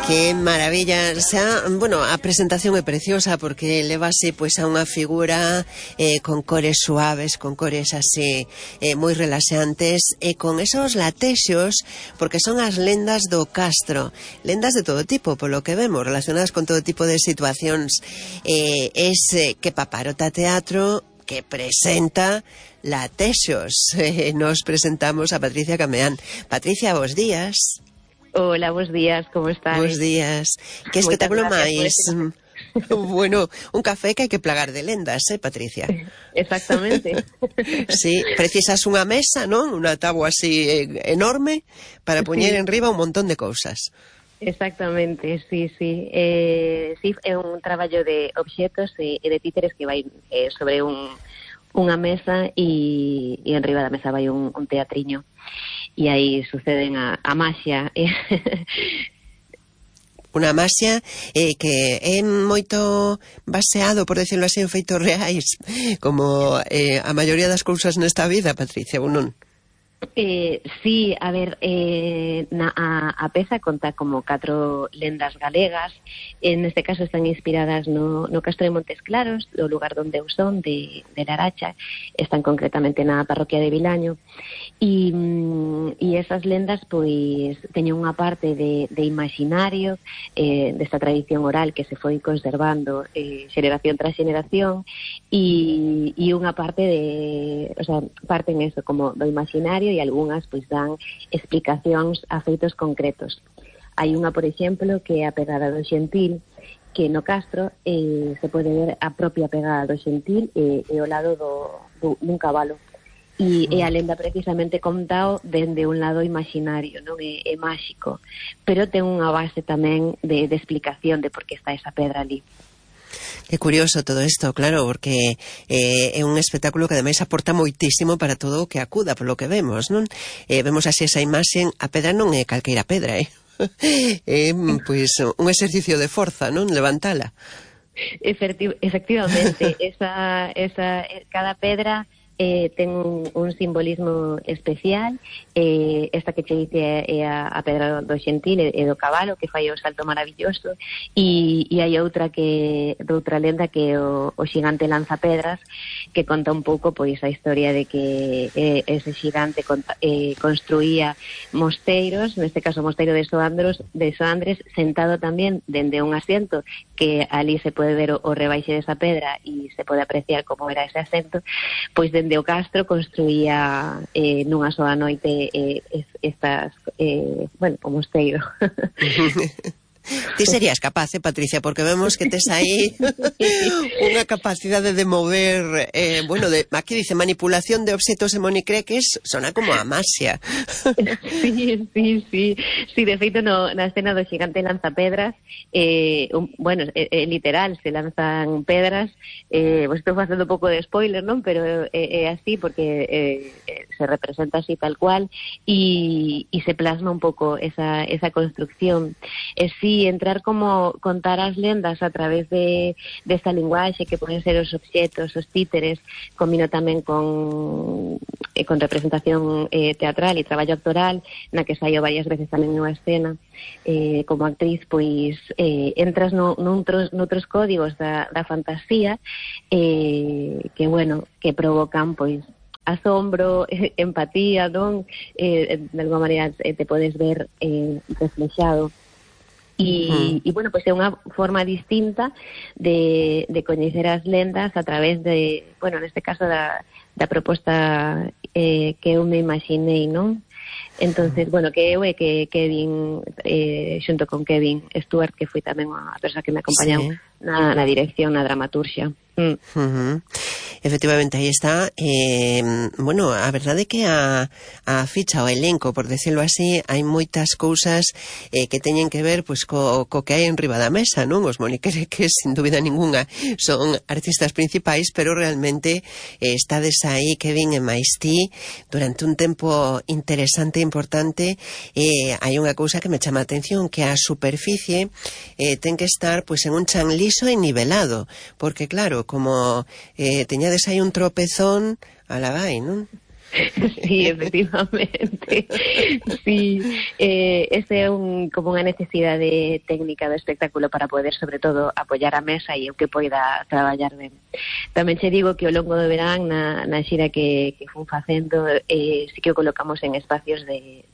Que maravilla, bueno, a presentación é preciosa porque levase pois a unha figura con cores suaves, con cores así moi relaxantes e con esos latexos, porque son as lendas do Castro, lendas de todo tipo, polo que vemos, relacionadas con todo tipo de situacións. Que Paparota Teatro que presenta latexos. Nos presentamos a Patricia Cameán. Patricia, bos días. Hola, bos días, como estás? Bos días. Que espectáculo máis... Bueno, un café que hai que plagar de lendas, Patricia? Exactamente. Sí, precisas unha mesa, non? Unha táboa así enorme para poñer enriba un montón de cousas. Exactamente, sí. Sí, é un traballo de obxetos e de títeres que vai sobre unha mesa e enriba da mesa vai un teatriño. E aí suceden a maxia. Unha maxia que é moito baseado, por decirlo así, en feitos reais, como a maioría das cousas nesta vida, Patricia, ou non? Sí, a ver, a peza conta como 4 lendas galegas. En este caso están inspiradas no Castro de Montes Claros, o lugar onde eu son, de Laracha. Están concretamente na parroquia de Vilaño. E esas lendas pois teñen unha parte de imaginario, desta tradición oral que se foi conservando xeración tras xeración, e unha parte o sea, parten eso como do imaginario e algunhas pois dan explicacións a feitos concretos. Hai unha, por exemplo, que é a pegada do Xentil, que no Castro se pode ver a propia pegada do Xentil e ao lado dun cabalo. E a lenda precisamente contao dende un lado imaginario, non é máxico, pero ten unha base tamén de explicación de por que está esa pedra ali. Que curioso todo isto, claro, porque é un espectáculo que ademais aporta moitísimo para todo o que acuda, polo que vemos, non? Vemos así esa imaxe, a pedra non é calqueira pedra, pois un exercicio de forza, non? Levantala. Efectivamente, cada pedra ten un simbolismo especial. Esta que che dice é a pedra do Xentil e do cabalo, que fai o salto maravilloso, e hai outra lenda que é o xigante lanzapedras, que conta un pouco pois a historia de que ese xigante construía mosteiros, neste caso o mosteiro de Soandres, sentado tamén dende un asiento, que ali se pode ver o rebaixe desa pedra e se pode apreciar como era ese asento. Pois dende o Castro construía nunha soa noite o mosteiro. Ti serías capaz, Patricia, porque vemos que tes aí unha capacidade de mover, aquí dice manipulación de obxetos e monicreques, sona como a maxia. Sí, de feito na escena do xigante lanzapedras, literal, se lanzan pedras, estou facendo un pouco de spoiler, non? Pero é así porque se representa así tal cual e se plasma un pouco esa construcción. Sí, entrar como contar as lendas a través desta linguaxe que poden ser os obxetos, os títeres, combino tamén con representación teatral e traballo actoral, na que saio varias veces tamén nunha escena como actriz, pois entras noutros códigos da fantasía que provocan pois asombro, empatía, non? De alguma maneira te podes ver reflexado. E pois é unha forma distinta de coñecer as lendas a través de, neste caso da proposta que eu me imaginei, non? Entonces, que eu e que Kevin, xunto con Kevin Stewart, que foi tamén a persoa que me acompañou na dirección, na dramaturxia. Efectivamente, aí está. A verdade é que a ficha, o elenco, por decirlo así, hai moitas cousas que teñen que ver pois co que hai en riba da mesa, non? Os moniquereques, sin dúbida ninguna, son artistas principais, pero realmente estades aí, Kevin e máis ti, durante un tempo interesante e importante. Hai unha cousa que me chama a atención, que a superficie ten que estar pois en un chan liso e nivelado, porque claro, como teñades aí un tropezón, ala vai, non? Sí, efectivamente. Sí, ese é como unha necesidade técnica do espectáculo para poder, sobre todo, apoiar a mesa e o que poida traballar ben. Tamén che digo que ao longo do verán, na xira que fun facendo, sí que o colocamos en espacios de